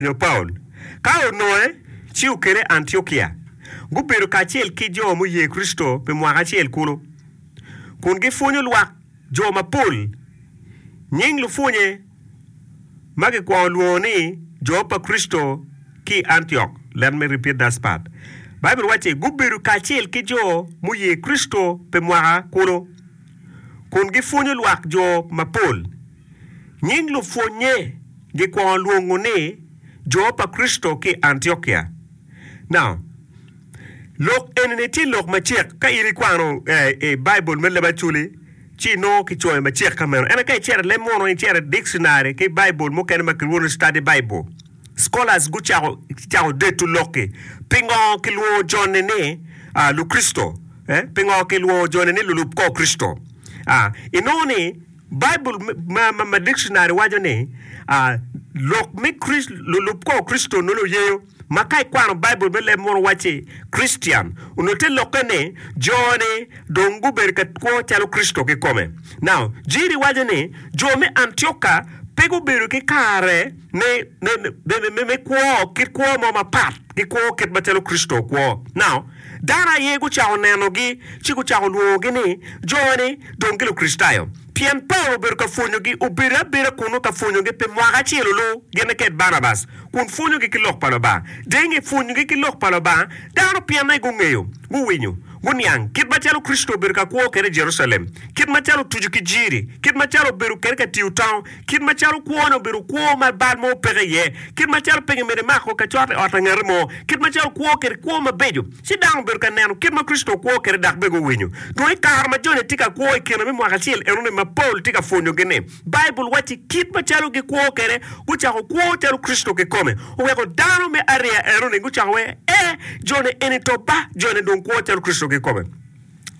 Nyo Paulo. Ka ononge, ci okele Antiokia. Gubedo kacel ki jo muye Kricito pi mwaka acel kulu, kun gipwonyo lwak jo mapol. Nying lupwonye ma gikwongo lwongo ni jo pa Kricito ki i Antiok. Let me repeat that part. Baibul wacci, Gubedo kacel ki jo muye Kricito pi mwaka kulu, kun gipwonyo lwak jo mapol. Nying lupwonnye gikwongo lwongo ni jo pa Kricito ki i Antiokia. Now, lok eni-ni tye lok macek. Ka in ikwano i Baibul me leb Acholi, ci inongo kicoyo macek ka meno. Ento ka icito i leb munu, icito i dictionary ki Baibul mukene ma kilwongo ni Study Bible, scholars gucako cako deto lok-ki. Pingo kilwongo joni ni Lukricito? Pingo kilwongo joni ni lulub kor Kricito? Inongo ni Baibul ma dikconari waco ni lok me lulub kor Kricito onongo oyeyo ma ka ikwano Baibul me leb munu wacci Christian onongo te lokke ni jo-ni dong gubedo ka kwo calo Kricito kikome. Now, Jiri waco ni jo me Antioka pe gubedo ki kare me kwo kit kwo mo mapat ki kwo kit macalo Kricito okwo. Now, Dano aye gucako nenogi ci gucako lwongogi ni jo-ni dong gilukricitayo. Pien Paulo obedo ka pwonyogi, obedo abeda kunnu ka pwonyogi pi mwaka acel olu, gin ked Barnabas, kun pwonyogi ki lok pa Lubanga. Dong i nge pwonyogi ki lok pa Lubanga, dano pienne gungeyo, guwinyo, guniang kit macalo Kricito obedo ka kwo kwede i Jerucalem, kit macalo otuco ki jiri, kit macalo obedo kwede ka tiyo tango, Kit macalo kwone obedo kwo ma bal mo peke iye, kit macalo pe gimito mako ka cot i ot pa ngati mo, kit macalo okwo kwede kwo mabeco, ci dano obedo ka neno kit ma Kricito okwo kwede dok bene guwinyo. Dong i kare ma joni tye ka kwo i kine me mwaka acel enoni ma Paulo tye ka pwonyogi-ni, Baibul wacci kit macalo gikwo kwede, gucako kwo calo Kricito kikome. Oweko dano me ariya enoni gucako wee, Ee, joni eni to ba, joni dong kwo calo Kricito kikome.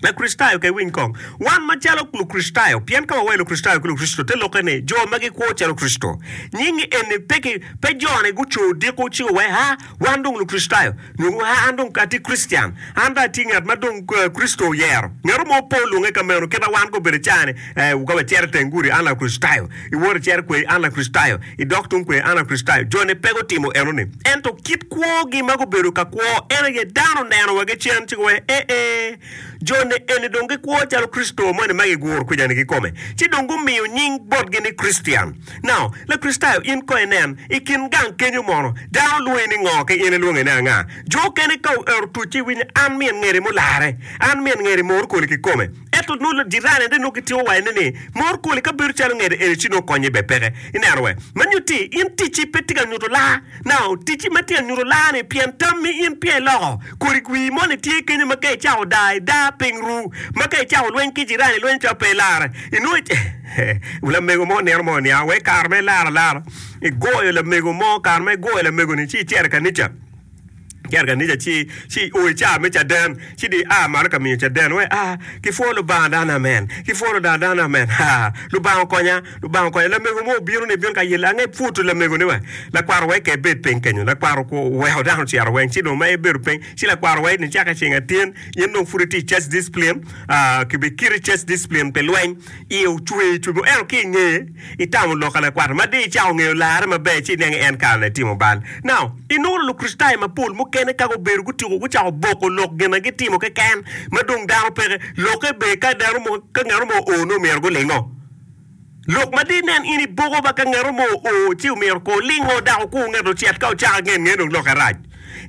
Lakricitayo ka iwiny kong, wan macalo Lukricitayo, pien ka wawaco Lukricitayo ki Lukricito te lokke ni jo ma gikwo calo Kricito. Nying eni pe ki pe jone guco odiko ci guwaco ha wan dong Lukricitayo nyo guwaco ha an dong atye Kricitian, an dong atye ngat ma dong Kricito oyero. Ngat mo pe olwonge ka meno kit ma wan gubedo i caa ni ka wacito i teng gudi an Lakricitayo, iwoto icito kweri an Lakricitayo, idok tung kweri an Lakricitayo. Joni pe gutimo enoni. Ento kit kwogi ma gubedo ka kwo en aye dano oneno wa gicen ci guwaco ee, jo-ni eni dong gikwo calo Kricito moni ma giguro kwija-ni kikome. Ci dong gumiyo nying botgi ni Krictian. Now, Lakricitayo in kong inen, i kin gang kenyo mono dano lwongi ni ngo ki in ilwonge ni anga? Jo okene ka oero tuc ci iwinyo an min ngeri mulare, an min ngeri mor koli kikome. Ento nongo jirani ne nongo gitiko waco ne ni, Mor koli ka bedo calo ngede eni ci nongo konye bene peke. Ineno we? Ma nyutti in ticci pe tye ka nyuto laa. Now, ticci ma tye ka nyuto laa ni pien tammi in peya iloko. Kodi wii moni tye kenyo ma ka icako daa idaa piny ru. Ma ka icako lweny ki jirani lweny calo pe ilare. Inongo lamego mo nino mo oniang wek kare ma ilaro alara igoyo lamego mo kare ma igoyo lamego ni ci icito i kanica. Icito i kanica ci ci o i caa me caden ci dong ia malo ka miyo caden wek a kipwo Lubanga dano amen kipwo Lubanga dano amen aa Lubanga okonya Lubanga okonya lamego mo obino ni bino ka yelle ange pwoto lamego ni wa lakwaro wek ke bed piny kenyo lakwaro oweko dano ocito weng ci dong ma ebedo piny ci lakwaro wek nicake ceng atin in dong pud itye i church discipline aa kibikiti church discipline pi lweny iye ocwer cwer mo ento ki ingeye itamo lok ka lakwat ma dong icako ngeyo larre maber ci iniang ni en kare-ni etimo bal. Now, inongo Lukricitayo mapol mukene ka gubedo gutiko gucako boko lok gin ma gitimo keken ma dong dano peke. Lokke ber ka dano mo ka ngat mo oo nongo myero gulingo. Lok ma dong inen in iboko ba ka ngat mo oo ci myero ko olingo dok okur ngat ocit ka ocako angen nge dong lokke rac.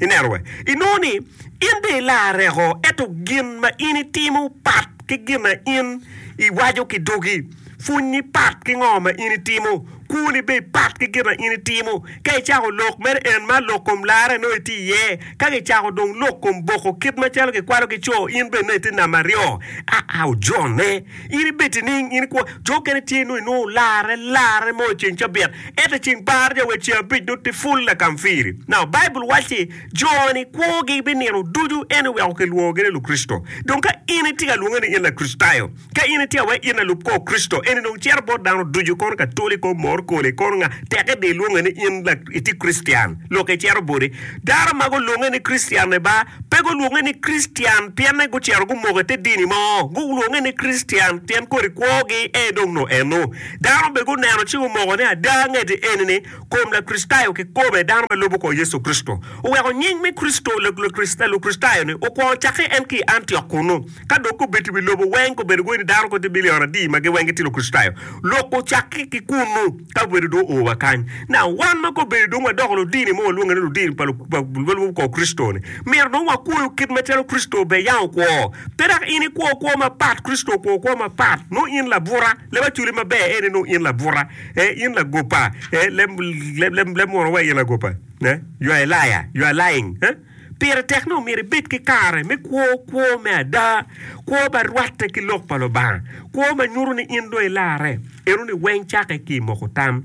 Ineno we? Inongo ni in dong ilarreko ento gin ma in itimo pat ki gin ma in iwaco ki dogi. Pwonyi pat ki ngo ma in itimo. Kwoni bene pat ki gin ma in itimo. Ka icako lok mere en ma lok kom larre nongo itye iye. Ka kicako dong lok kom boko kit macalo kikwalo ki co in bene nongo itye namba aryo. Aa ojone. In ibed nining? In ikwo. Jo okene tye nongo inongo olarre larre mo i ceng cabit ento i ceng bar ja wa i ceng abic nongo tye full lakamfiri. Now Baibul wacci jo-ni kwogi binino ducu en oweko kilwongogi ni Lukricito. Dong ka in itye ka lwonge ni in Lakricitayo, Ka in itye awe in lalub kor Kricito, eni dong cito bot dano ducu, kono Katoli, kono Moro. Kono koli, kono nga, tekke di ilwonge ni in itye Krictian, lok icito boti. Dano ma gulwonge ni Krictian-ni ba, pe gulwonge ni Krictian pienne gucito gumoko i te dini mo. Gulwonge ni Krictian pien kodi kwogi en dong nongo eno. Dano bene guneno ci gumoko ni ada ngeti eni-ni kom Lakricitayo kikome, dano ma lubo kor Yecu Kricito. Oweko nying me Kricito, Lukricitayo-ni okwongo cakke en ki i Antiok kunnu. Ka dok gubedo i wi lobo weng, gubedo gwe ni dano kong tye bilion adi ma giweng gitye Lukricitayo. Lok ocakke ki kunnu ka obedo dong oo wa kany. Now, wan ma kobedo dong wadoko ludini mo walwonge ni ludini pa lubo kor Kricito-ni, myero dong wakwoyo kit macalo Kricito bene yam okwo. Pe dok in ikwo kwo mapat, Kricito okwo kwo mapat. Nongo in labuta, leb acoli maber ene nongo in labuta, eh, in lagopa, eh, leb, leb, leb, leb munu wa in lagopa, eh, you are a liar, you are lying, eh. Pire tek ni omyero ibed ki kare me kwo kwo me ada, kwo ma rwatte ki Lok pa Lubanga, kwo ma nyuto ni in dong ilarre. Enoni weng cakke ki i moko tam.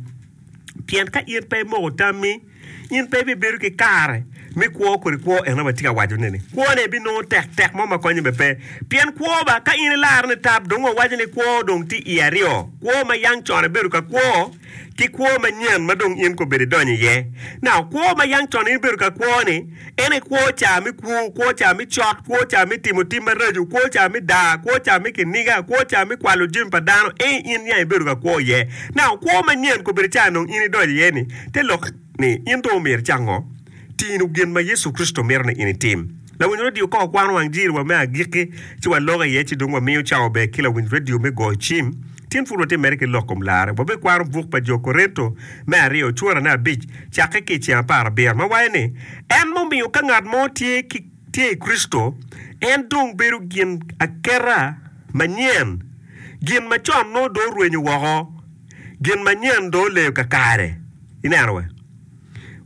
Pien ka in pe imoko tammi, in pe ibibedo ki kare me kwo kodi kwo eno ma atye ka wacone-ni. Kwone ibinongo tek tek mo ma konye bene pe. Pien kwo ba, ka in ilarre nitap, dong wawaco ni kwo dong tye iye aryo, kwo ma yang con ibedo ka kwo, ki kwo manyen ma dong in kobedo idonyo iye. Now, kwo ma yang con in ibedo ka kwo-ni, en aye kwo ca me kwo, kwo ca me cot, kwo ca me timo tim maraco, kwo ca me daa, kwo ca me kiniga, kwo ca me kwalo jami pa dano, en in yang ibedo ka kwo iye. Now, kwo manyen kobedo ca dong in idonyo iye-ni, te lok ni in dong omyero icak ngo? Tino gin ma Yecu Kricito mito ni in itim. Lawiny redio ka wakwano wang jiri wa me agikki ci waloko iye ci dong wamiyo cawa ber ki lawiny redio me goyo cim. Tin pud watye mere ki lok kom larre. Wabikwano buk pa Jo Korinto me aryo curane abic cakke ki i ceng aparabiro ma waco ni, En mumiyo ka ngat mo tye ki tye i Kricito, en dong bedo gin aketa manyen, gin macon nongo dong orwenyo woko, gin manyen dong oleyo kakare. Ineno we?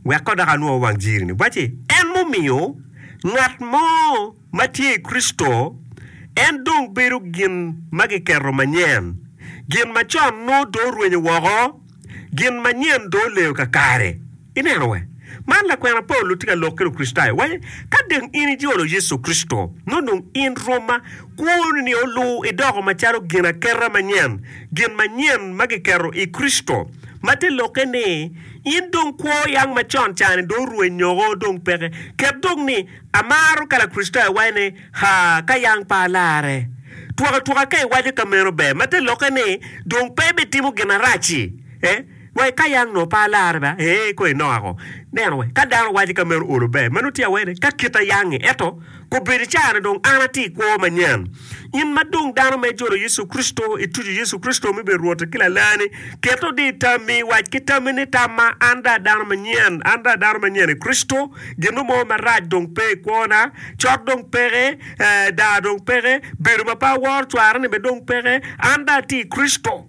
Wek ko dok anwo wang jiri-ni. Wacci, En mumiyo ngat mo ma tye i Kricito, en dong bedo gin ma giketo manyen. Gin macon nongo dong orwenyo woko, gin manyen dong oleyo kakare. Ineno we? Man lakwena Paulo tye ka lok ki Lukricitayo. Waco, Ka dong in ijolo Yecu Kricito, nongo dong in Roma, kwoni olu idoko macalo ginaketa manyen, gin manyen ma giketo i Kricito. Ma te lokke ni, in dong kwo yang macon ca-ni dong orwenyoko dong peke. Ket dong ni, amaro ka Lakricitayo waco ni, Haa, ka yang pe alarre. Twak atwaka ka iwaco ka meno ber, ma te lokke ni, dong pe ibitimo gin arac-ci. Eh, wa ka yang nongo pe alarre ba, ee, kong inoko. Neno we, ka dano waco ka meno olo ber, meno tye awene ka kita yang-ngi. Ento, Kobedo i caa-ni dong an atye i kwo manyen. In ma dong dano ma ijolo Yecu Kricito, ituco Yecu Kricito me bedo Rwotti ki Lalani, ket odi i tammi, wac ki tammi ni, Tamma, an dong a dano manyen, an dong a dano manyen i Kricito, gin mo marac dong pe i kwona, cot dong peke, daa dong peke, bedo ma pe aworo cwara-ni bene dong peke, an dong atye i Kricito.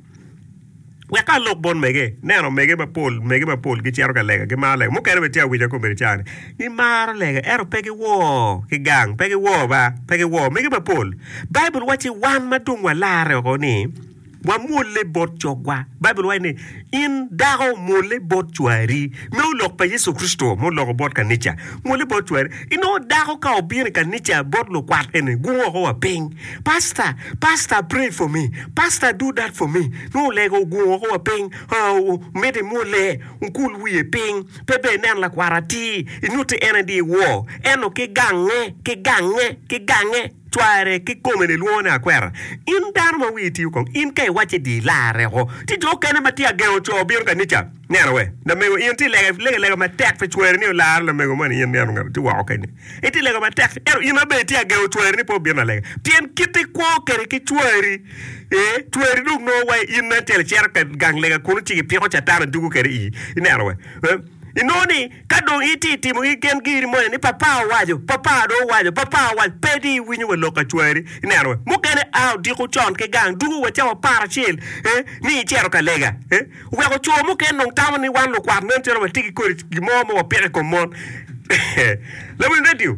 Wek alok bot mege. Neno mege mapol, mege mapol gicito ka lega, gimaro lega. Mukene bene tye awica kombeddi ca ni gimaro lega ento pe giwor ki gang, pe giwor ba, pe giwor. Mege mapol. Baibul wacci wan ma dong walarre oko ni wamwolle bot cogwa. Baibul waco ni in dako mwolle bot cwari. Meno lok pa Yecu Kricito ma oloko bot kanica. Mwolle bot cwari. Inongo dako ka obino i kanica bot lukwat eni gungo oko wa piny. Pastor, pastor pray for me, pastor do that for me, nongo olego ogungo woko wa piny, mito imwolle, okul wiye piny, pe ber inen lakwat atir, inyutti en aye iwor, ento ki gange, ki gange, ki gange, cware ki kome ni lwongo ni akwera. In dano ma wiyi tiyo kong, in ka iwacce di ilarre oko. Tye jo okene ma tye agengo co bino kanica. Neno we, lamego in itye lega, lega lega matek pi cweri ni olar lamego moni in neno ngat tye woko kenyo. Itye lega matek ento in abe itye agengo cweri ni pe obin alega. Pien kit ikwo kede ki cweri, ee, cweri dong nongo wa in nen calo icito ka gang lega kunu ci gipiko catan adugo kede ii. Ineno we, ee, inongo ni ka dong itye itimo gi gen giri moni ni papa owaco, papa dong owaco, papa owaco, pe di iwinyo wa lok ka cweri. Ineno we, mukene a odiko con ki gang dugo wa cawa aparacel, ee, ni icito ka lega, ee. Weko co mukene dong tamo ni wan lukwat nen calo watye ki kodi gin mo ma wapiko i kom mon. Lawiny redio.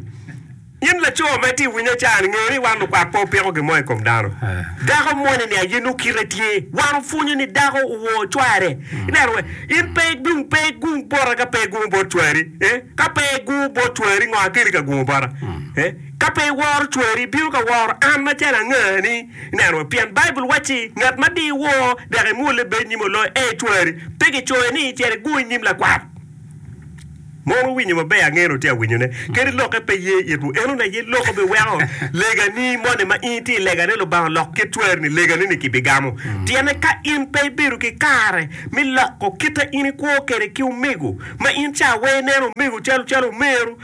In laco ma itye winyo ca-ni, nge ni wan lukwat pe wapiko gin mo i kom dano. Dako moni-ni aye nongo kite tye. Wan wapwonyo ni dako owor cware. Ineno we? In pe igung, pe igung bota ka pe igungo bot cwari. Eh? Ka pe igungo bot cwari, ngo akeli ka gungo bota? Eh? Ka pe iworo cwari, ibino ka woro an macalo angani? Ineno we? Pien Baibul wacci, Ngat ma di iwor dok imwolle bed nyim oloyo, ee cwari. Pe kicoyo ni, Cit igung i nyim lakwat. Mono wuwinyo maber? Angeyo ni wutye ka winyone. Kadi lokke pe ye itwu, enoni aye lok obiweko legani moni ma in itye i legane Lubanga olok kit cwari-ni, legani-ni kibigamo. Tyene ka in pe ibedo ki kare me loko kite in ikwo kwede ki omego, ma in ca weng ineno omego calo calo omeru,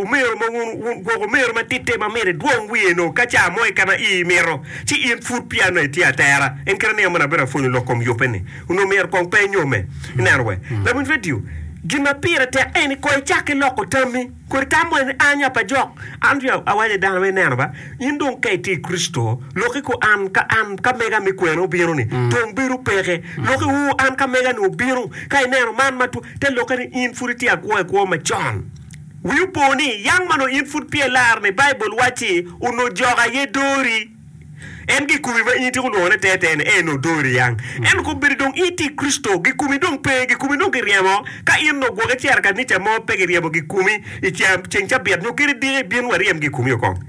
omeru ma wun, gwok omeru matite ma myero idwong wiye nongo ka ca mo keken ma ii mito, ci in pud peya nongo itye atera. En kite nino moni abedo apwonyo lok kom yubbe-ni. Onongo myero kong pe inyomme. Ineno we? Lawiny redio, gin ma pire tek en ni kong icak ki loko tammi. Kodi tam moni ni an nya pa jok. An dong awaco ni dano ma ineno ba, in dong ka itye i Kricito, lokki ko an ka an ka mega me kwena obino ni, dong bedo peke. Lokki uu an ka mega ni obino, ka ineno man ma two, te lokke ni in pud itye akwo i kwo macon. Wi opo ni, yang ma nongo in pud peya ilar ni, Baibul wacci, onongo jok aye dori. En gikumi ma in itiko lwongone teretere ni en odori yang. Ento kombeddi dong in itye i Kricito, gikumi dong pe, gikumi dong giryemo. Ka in onongo gwok icito i kanica mo pe giryemo gikumi i ceng cabit nyo kadi diki bin waryem gikumi okong.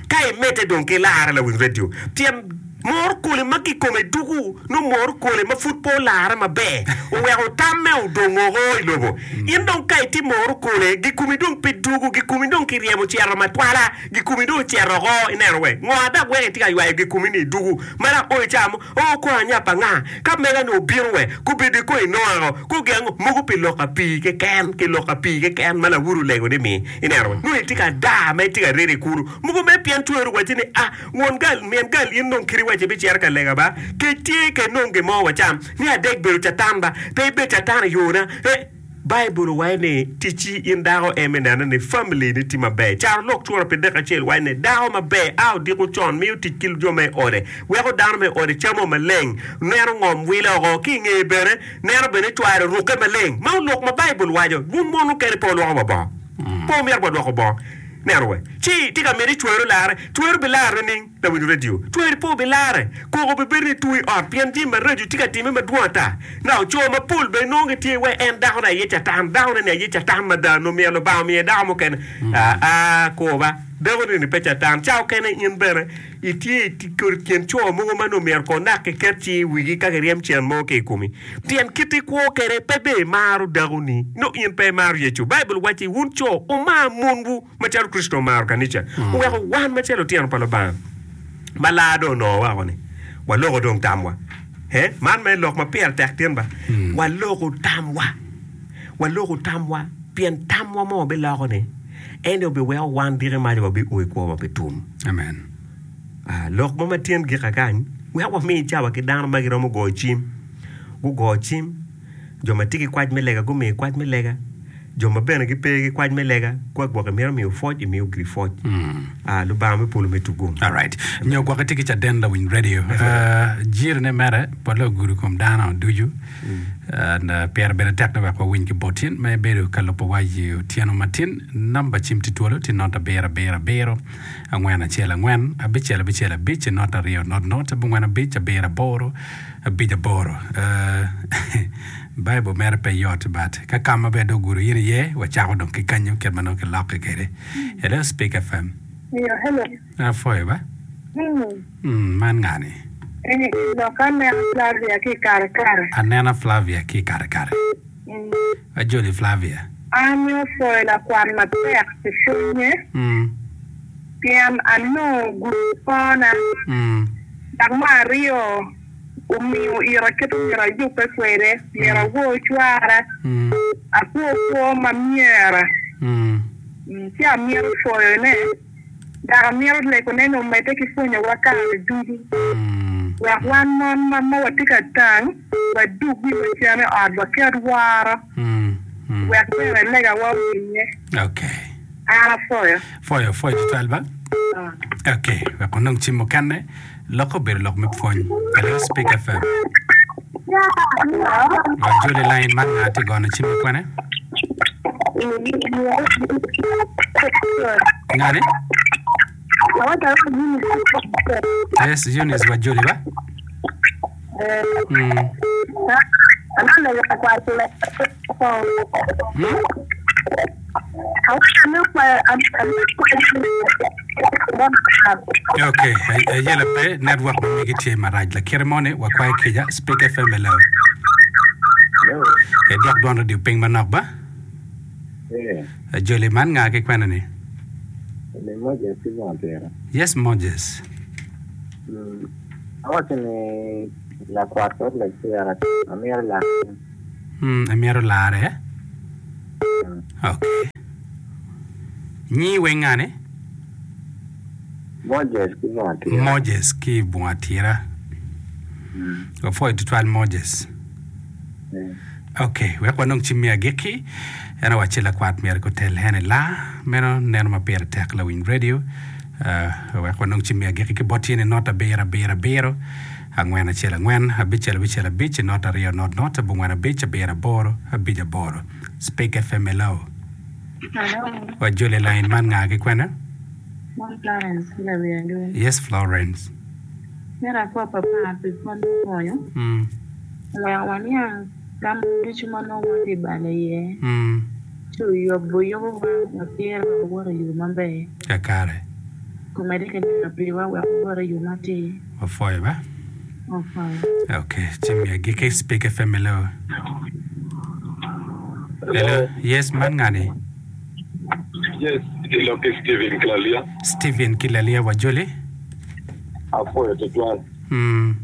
Ka imedde dong ki larre lawiny redio, pien mor kole ma kikome duku nongo mor kole ma pud pe olarre maber oweko tamme odong oko i lobo. In dong ka itye mor kole, gikumi dong pe duku, gikumi dong kiryemo ocito matwala. Gikumi dong ocito oko, ineno we? Ngo dok weko itye ka ywayo gikumi ni idugu? Ma dok o ica mo, oo kong anyap anga? Ka mega ni obino we, gubedo kong inongo ango? Ko gin ango? Mogo pi lok apii keken, ki lok apii keken ma lawoti olego ni mi. Ineno we? Nongo itye ka daa ma itye ka redo i kulu. Mogo mere pien cweri owacci ni, ah, won gal, min gal in dong kiti waci ibicito ka lega ba? Kec tye ka inong gin mo wacam. Ni adek bedo catan ba? Pe ibed catan i yona. Eh! Baibul owaco ni, Ticci in dako en me neno ni famili-ni tye maber. Carolok cura pi dek acel waco ni, Dako maber a odiko con, miyo tic ki jo me ode, weko dano me ode camo maleng, neno ngom wilo oko, ki i ngeye bene, neno bene cware rukke maleng. Meno lok ma Baibul waco. Wun mon mukene pe wulwoko wa bongo. Pe wumito wa lwoko bongo. Neno we. Ci tye ka miti cweru larre. Cweru bilarre nining? Lawiny redio tweri pe obilare, koko obibedo ni two i ot pien jami maraco tye ka timme madwong ata. Now, co mapol bene nongo gitye wai en dakone aye catan, dakone ni aye catan mada, nongo myero Lubanga omiye dako mukene. Aa, kuba, dakoni ni pe catan. Ca okene in bene itye i kin co mogo ma nongo myero kong nak kiket cing i wigi ka kiryem cen mo ki i komi. Pien kit ikwo kwede pe bene imaro dakoni, nongo in pe imaro Yecu. Baibul wacci, Wun co, wumar monwu. Macalo Kricito omaro kanica, oweko wan macalo litino pa Lubanga ma lar dong onongo woko-ni, waloko dong tamwa. He, man mere lok ma pire tek tin ba. Waloko tamwa. Waloko tamwa pien tamwa mo wabiloko-ni en aye obiweko wan diki maca wabio i kwo ma pe tum. Amen. Ah, lok mo ma tyen gika kany, wek wami cawa ki dano ma giromo goyo cim. Gugo cim. Jo ma tye ki kwac me lega gumiyo kwac me lega, jo ma bene gipe ki kwac me lega, ka gwok imito miyo pwoc, imiyo giri pwoc. Ah, Lubanga me polo me tugum. Alright. Nyo gwok itye ki caden lawiny radio. Uh, jiri ne mere pole ogudo kom dano ducu. And, uh, pire bene tek ni wek wawiny ki bot in ma ibedo ka lubo wa i otyeno matin. Namba cim tye twolo tye not abiro abiro abiro angwen acel angwen abicel abicel abic not aryo not not abongwen abic abiro aboro Abic aboro. Baibul mere pe yot but ka ka ma bene dong ogudo in iye wacako dong ki kanyo kit ma nongo kilokke kwede. Hello Speak FM. Iyo, hello. Apwoyo ba. Mm. Mm, man nga ni? Eh, lok anena Flavia ki i Karekare. Anena Flavia ki i Karekare. Mm. Ajoli Flavia. An opwoyo lakwan matek pi pwonye. Mm. Pien anongo ogudo kwona. Mm. Dok me aryo, omiyo ira kit myero ayubbe kwede, myero awor cwara, akwo kwo ma myera. Ci amito pwoyone, dok amito legone ni omedde ki pwonyowa kare ducu, wek wan mon ma ma watye ka tang, wadug wiwa cen i ot, waket woro, wek bene legawa owinnye. An apwoyo. Pwoyo, pwoyo tutwal ba. Ok, wek wanong cim mukene. Lokke obedo lok me pwony. Hello, Speak FM. Wajoli line man nga tye gono cim i kwene? Ngani? Yes, Eunice wajoli ba. Mm. Mm? Okay, ayela pe network ma megi tye marac lakite moni wakwayo kica Speak FM hello. Hello. Idok dwon radio piny manok ba. Eh. Ajoli man nga ki kwene ni? Ni Moses ki Bunga Tira. Yes Moses. Mm. Awaco ni lakwat kod lacira amito lare. Mm, amito lare. Mm. Okay. Nyi weng ngani? Moses ki Bunga Tira. Moses ki Bunga Tira. Mm. Wapwoyo tutwal Moses. Eh. Ok, wek wanong cim me agikki. En owacci lakwat myero gutel en i laa. Meno neno ma pire tek lawiny radio. Uh, wek wanong cim me agikki ki bot tye ni not abiro abiro abiro angwen acel angwen abicel abicel abic not aryo not not abongwen abic abiro aboro abic aboro. Speak FM hello. Hello. Wajoli line man nga ki kwene? Man Florence ki Lawiadwe. Yes Florence. Myero apwo papa pi pwony me pwonyo. Mm. Wek waniang ka ma ducu ma nongo watye ka balo iye, Mm. ci oyubo yubowa matir wek wawot i yo maber. Kakare. Omedde ki lega piwa wek wawot i yo matir. Wapwoyo ba. Wapwoyo. Ok, ci mi agikki Speak FM hello. Hello. Yes, man ngani? Yes, ilok ki Steven Kilalia. Steven Kilalia wajoli. Apwoyo tutwal. Mm.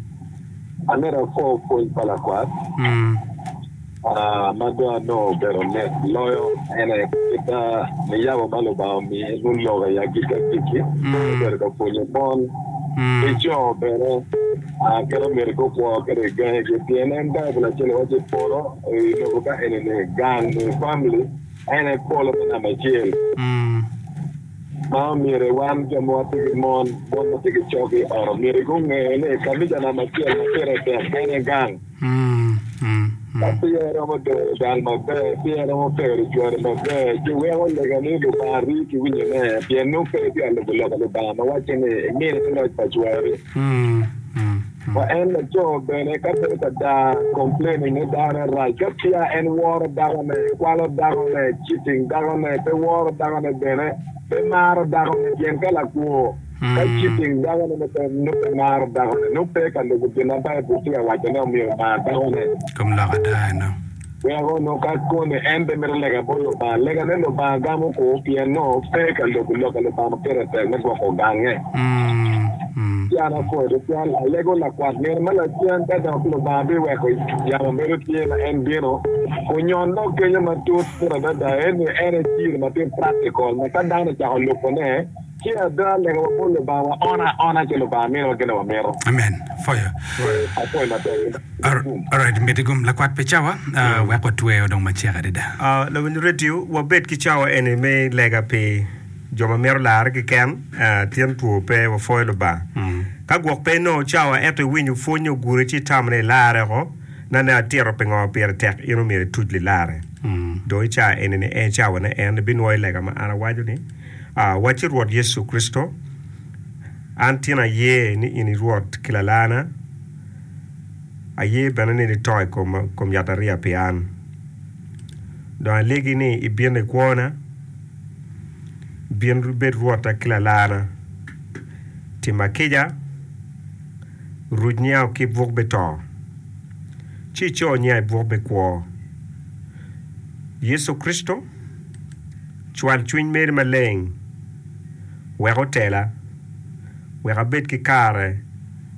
Amito apwo pwony pa lakwat ma dong anongo obedo mit loyo en aye kit niyabo ma Lubanga omiye nongo lok i agikki agikki obedo ka pwonyo mon ki co bene kit omyero gukwo kwede i gangigi pien en Baibul acel waco i polo i lobo ka eni-ni gang nyo famili En aye polo me namba acel ma omyero wan jo ma watye ki mon, mon ma tye ki cog i ot omyero gunge ni kanica namba acel ma pire tek en aye gang. Ka peya iromo doro gang maber, peya iromo pero cwari maber, ci weko lega ni Lubanga rii ki winyone, pien nongo pe itye ka lubo lok pa Lubanga ma wacce ni imine te loc pa cwari. Wa en laco bene ka bedo ka daa complaining ni dakone rac ka peya en woro dakone, kwalo dakone, cheating dakone, pe woro dakone bene, pe maro dakone pien ka lakwo ka cheating dakone nongo pe nongo pe maro dakone nongo pe ka lubo gin ma Baibul tye ka waco ne omyero omar dakone. Kom lok ada eno. Weko nongo ka koni en pe mito lega bot Lubanga, legane Lubanga gamo ku pien nongo pe ka lubo lok pa Lubanga ma pire tek me gwoko gange. Ci an apwoyo tutwal, alego lakwat nino ma lacen ka dok Lubanga biweko yamo bedo tye ma en bino kunyon dok kenyo matut pud adada eni en aye jiri ma tye practical ma ka dano ocako lubone Ci ada lega wa bot Lubanga wa ono aona ci Lubanga miniwa gin ma wamito. Amen. Pwoyo. Apwoyo matek. Alright, miti gum lakwat pi cawa uh, wek watweyo dong macek adada. Uh, lawiny radio, wabed ki cawa eni me lega pi jo ma mito larre keken, uh, tyen two pe, wapwoyo Lubanga. Mm. Ka gwok pe inongo cawa ento iwinyo pwony oguri ci itamo ni ilarre oko, nane atito pingo pire tek in omyero ituc lilarre. Mm. Dong i cawa eni ni en cawa ne en ibinwoyo lega ma an awaco ni. Wacci Rwot Yecu Kricito, an tin aye ni in i Rwot ki Lalana, aye bene ni nito i kom yatariya pi an. Dong alegi ni ibin i kwona, bin ibed Rwotta ki Lalana. Tima kica, ruc nyinga ki i buk me to, ci ico nyinga i buk me kwo. Yecu Kricito. Cwal cwiny meri maleng wek otela, wek abed ki kare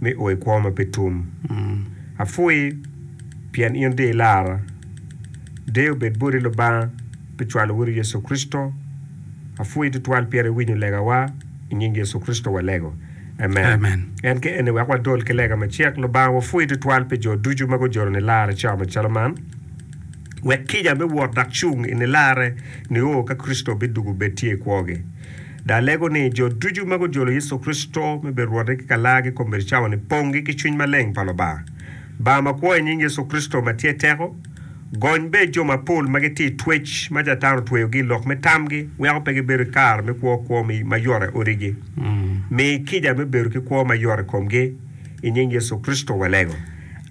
me o i kwo ma pe tum. Apwoyi pien in dong ilara. Deyo obed boti Lubanga pi cwalo Wodi Yecu Kricito. Apwoyi tutwal pien iwinyo legawa. I nying Yecu Kricito walego. Amen. Amen. En ki eni wek wadol ki lega macek. Lubanga wapwoyi tutwal pi jo ducu ma gujolo nilarre cawa macalo man. Wek kica me wot dok cung i nilarre nio ka Kricito bidwogo bed tye i kwogi. Dong alego ni jo ducu ma gujolo Yecu Kricito me bedo Rwotgi ki Kalargi kombeddi cawa-ni ponggi ki Cwiny Maleng pa Lubanga. Banga ma kwo i nying Yecu Kricito ma tye teko, gony bed jo mapol ma gitye i twec ma Catan otweyogi i lok me tamgi weko pe gibedo ki kare me kwo kwo ma yot i odigi. Mi kica me bedo ki kwo mayot i komgi. I nying Yecu Kricito walego.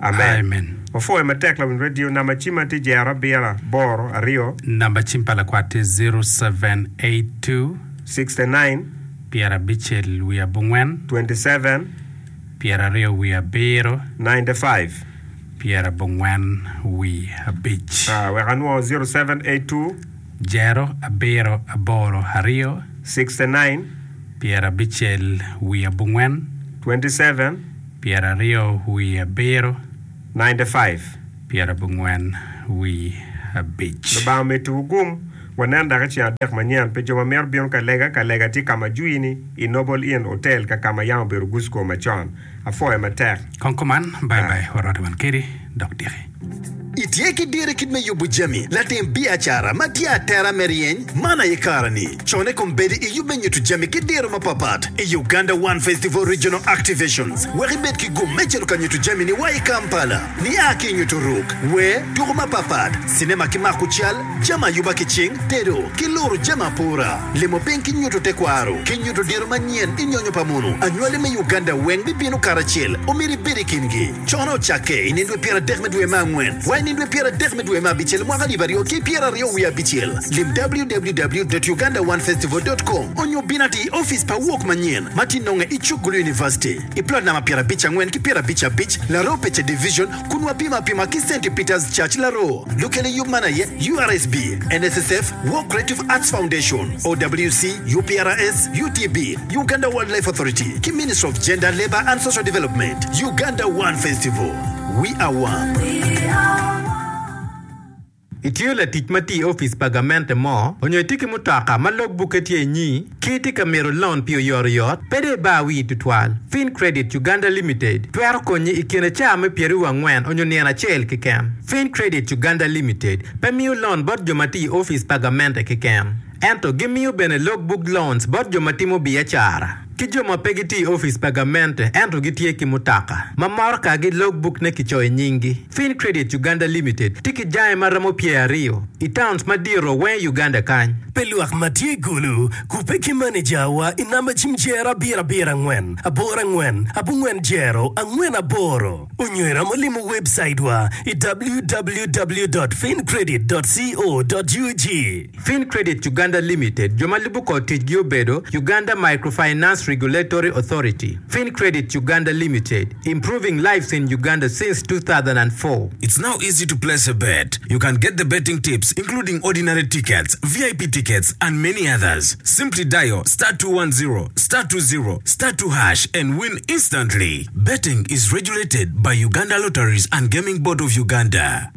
Amen. Amen. Wapwoyo matek lawiny radio. Namba cimma tye jero abiro aboro aryo. Namba cim pa lakwat tye 0782. 69. Pyerabicel wiye abongwen. 27. 27. 95. 95. Wek anwo 0782. Jero abiro aboro aryo. 69. 59. 27. 27. 95. 95. Lubanga omeddiwu gum. Wanen dok i ceng adek manyen pi jo ma mito bino ka lega. Ka lega tye ka ma jwini i Noble Inn Hotel ka ka ma yam obedo Gusco macon. Apwoyo matek. Kong kuman, bye bye, warwatte wan kedi dok diki. Itye ki diro i kit me yubo jami, latim biacara ma tye atera me ryeny? Man aye kareni. Cone kombeddi i yub me nyuto jami ki diro mapapat i Uganda One Festival Regional Activations wek ibed ki gum me cito ka nyuto jamini wa i Kampala. Nia ki i nyuto ruk, wer, tuko mapapat, cinema ki mako cal, jami ayuba ki cing, tedo, ki luro jami apura, limo piny ki nyuto tekwaro, ki nyuto diro manyen i nyonyo pa munu. Anywali me Uganda weng bibino karacel, omyero ibed i kingi. Cone ocakke i nindwe pyeradek me dwe me angwen wa i nindwe pyeradek me dwe me abicel mwaka alip aryo ki pyeraryo wiye abicel. Lim www dot ugandaonefestival dot com onyo bin atir i opic pa wok manyen ma tye nonge i cuk Gulu University i plot namba pyerabic angwen ki pyerabic abic, Laroo Pece Division kun wapimo apima ki Centi Peters Church Laroo. Lukel i yub man aye URSB, NSSF, Wok Creative Arts Foundation, OWC, UPRS, UTB, Uganda Wildlife Authority ki Ministry of Gender, Labour and Social Development, Uganda One Festival, We are one. Itiyo latic ma tye i opic pa gamente mo, onyo itye ki mutoka ma log bukke tye inyi, ki itye ka mito loan pi oyotoyot, pe dong ibar wii tutwal. Fin Credit Uganda Limited twero konyi i kine caa me pyeraryo angwen onyo nino acel keken. Fin Credit Uganda Limited pe miyo loan bot jo ma tye i opic pa gamente keken. Ento gimiyo bene log book loans bot jo ma timo biacara ki jo ma pe gitye i opic pa gamente ento gitye ki mutoka ma morokagi log book ne kicoyo i nyinggi. Fin Credit Uganda Limited tye ki jange ma romo pyeraryo i towns madito weng i Uganda kany. Pi lwak ma tye i Gulu, kubbe ki manejawa i namba cim jero abiro abiro angwen aboro angwen abongwen jero angwen aboro. Onyo iromo limo webcaitwa i www dot fincredit dot co dot ug. Fin Credit Uganda Limited, jo ma lubo kor ticgi obedo, Uganda Microfinance Regulatory Authority, Fin Credit Uganda Limited, improving lives in Uganda since 2004. It's now easy to place a bet. You can get the betting tips including ordinary tickets, VIP tickets and many others. Simply dial star 210 star 20 star 2 hash and win instantly. Betting is regulated by Uganda Lotteries and Gaming Board of Uganda.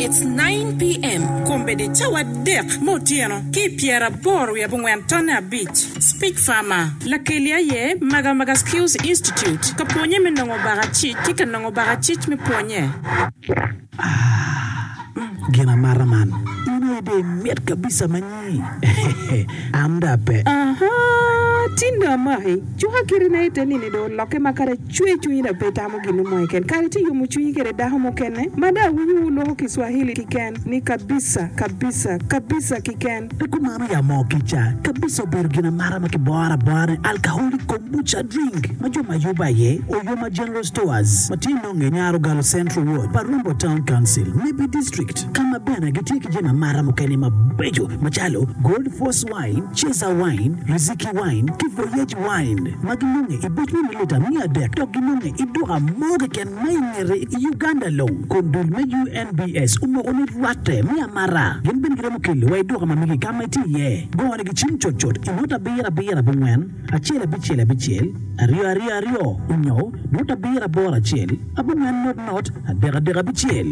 It's 9 PM, Kombeddi cawa adek me otyeno ki i pyeraboro wiye abongwen tonne abic. Speech Farmer, Lakeli aye Maga Maga Skills Institute ka pwonye me nongo bakacic ki ka nongo bakacic me pwonye. Aah gin amata man in aye dong imit kabisa ma nyi an dong ape. Ahaa tin dong amaki cuka kiti na ite nini dong olokke ma kadi acwe cwinyi dong pe itamo ginu mo keken kadi itye yomo cwinyi kede dako mukene ma dong awinyo wu loko kiswahili kiken ni kabisa kabisa kabisa kiken. Pe kumano ya moo kica kabisa obedo gin amata ma kiboro abora ni alcoholic kombucha drink ma jo ma yubo aye Oyoma General Stores ma tye nonge i Nyarogalo Central Ward pa Rombo Town Council, Nebbi District ka ma bene gitye ki jami amata mukene mabeco macalo Gold Force Wine, Cesar Wine, Riziki Wine ki Voyage Wine ma ginonge i boc me mililita 300 dok ginonge i duka mo keken ma i ngete i Uganda long kun dul me UNBS omoko ni rwatte me amata. Gin bene giromo kelo wa i duka ma megi ka ma itye iye. Gone gi cim cutcut i not abiro abiro abongwen, acel abicel abicel, aryo aryo aryo, onyo not abiro aboro acel, abongwen not not, adek adek abicel.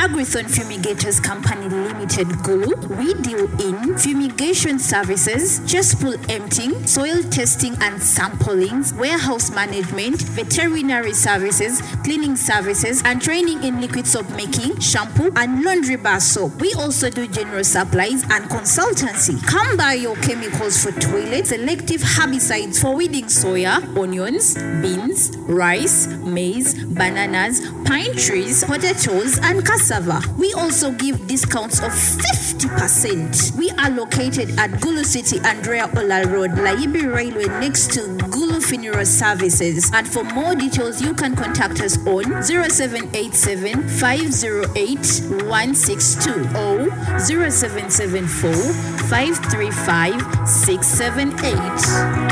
Agrithon Fumigators Company Limited Gulu, we deal in fumigation services, cesspool emptying, soil testing and samplings, warehouse management, veterinary services, cleaning services and training in liquid soap making, shampoo and laundry bar soap. We also do general supplies and consultancy. Come buy your chemicals for toilets, selective herbicides for weeding soya, onions, beans, rice, maize, bananas, pine trees, potatoes and cassava. cassava. We also give discounts of 50%. We are located at Gulu City, Andrea Olal Road, Layibi Railway next to Gulu Funeral Services and for more details you can contact us on 0787 508 162 or 0774 535 678.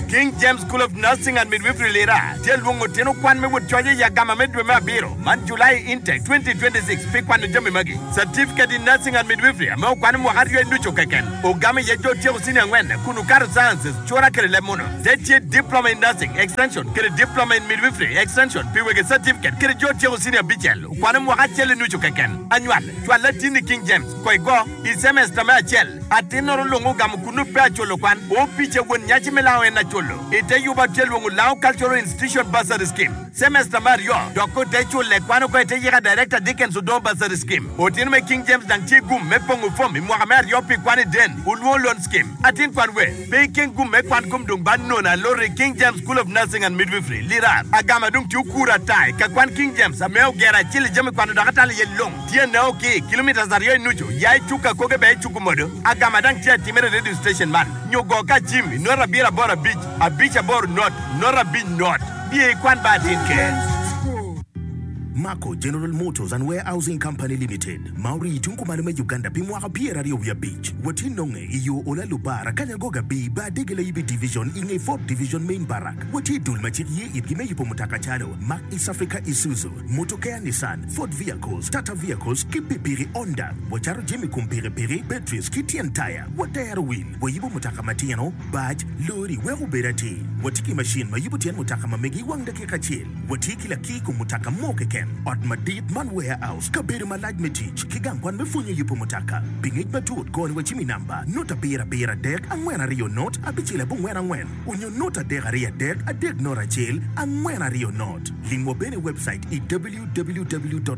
King James School of Nursing and Midwifery Lira tye lwongo tino kwan me wot coc i agama me dwe me abiro man, July Intake 2026, pi kwano jami magi, Certificate in Nursing and Midwifery ame okwano mwaka aryo i nucu keken, ogamo iye jo otyeko senior angwen kun okato Sciences, cura kede leb muno. Te tye Diploma in Nursing, Extension, kede Diploma in Midwifery, Extension, pi wege certificate kede jo otyeko senior abicel okwano mwaka acel i nucu keken. Anywal, cwal latinni King James, ko igo, i semester me acel. Atinnoro lung ogamo kunnu pe aculo kwan. Opice won nyaci me lango en aculo. Ite yuba tye lwongo Lango Cultural Institution Bursary Scheme. Semester me aryo dok ko te cule kwan oko ite yika Director Dickens Odongo Bursary Scheme. Otino me King James dang tye gum me pongo fom i mwaka me aryo pi kwan i Den Olwongo Loan Scheme. Atin kwan we pe ikeng gum me kwan kom dong ba nono alot i King James School of Nursing and Midwifery, Lirar. Agama dong tye okuro ata i ka kwan King James ame ogero acel i jami kwano dok atalo iye long. Tye neo ki kilometres aryo i nucu ya i cuk akoge bene i cuk omodo. Agama dang tye atimere i radio station man nyo go ka cim i not abiro aboro abic abic aboro not not abic not. Biye i kwan ba atin ker. Mako General Motors and Warehousing Company Limited, ma orii tung kumalo me Uganda pi mwaka pyeraryo wiye abic. Watye nonge i yo Ola Lubara, Kanyangoga B, Bar Dege Layibi Division i nge Fourth Division Main Barrack. Watye i dul ma cik ye itgi me yubo mutoka calo Mack East Africa Isuzu, Motokea Nissan, Ford Vehicles, Tata Vehicles ki pikipiki Honda. Wacato jami kom pikipiki, batteries ki tyen taya. Watero wil, wayubo mutoka matino, bac, lori wek obed atir. Watye ki macin ma yubo tyen mutoka ma megi i wang dakika acel. Watye ki lakir kom mutoka mo keken, ot madit man warehouse, kabedo malac me tic, ki gang kwan me pwonyo yubo mutoka. Pi ngec matut, goni wa cim i namba, not abiro abiro adek angwen aryo not abicel abongwen angwen onyo not adek aryo adek adek not acel angwen aryo not. Limwa bene i webcait i www.maco.ug.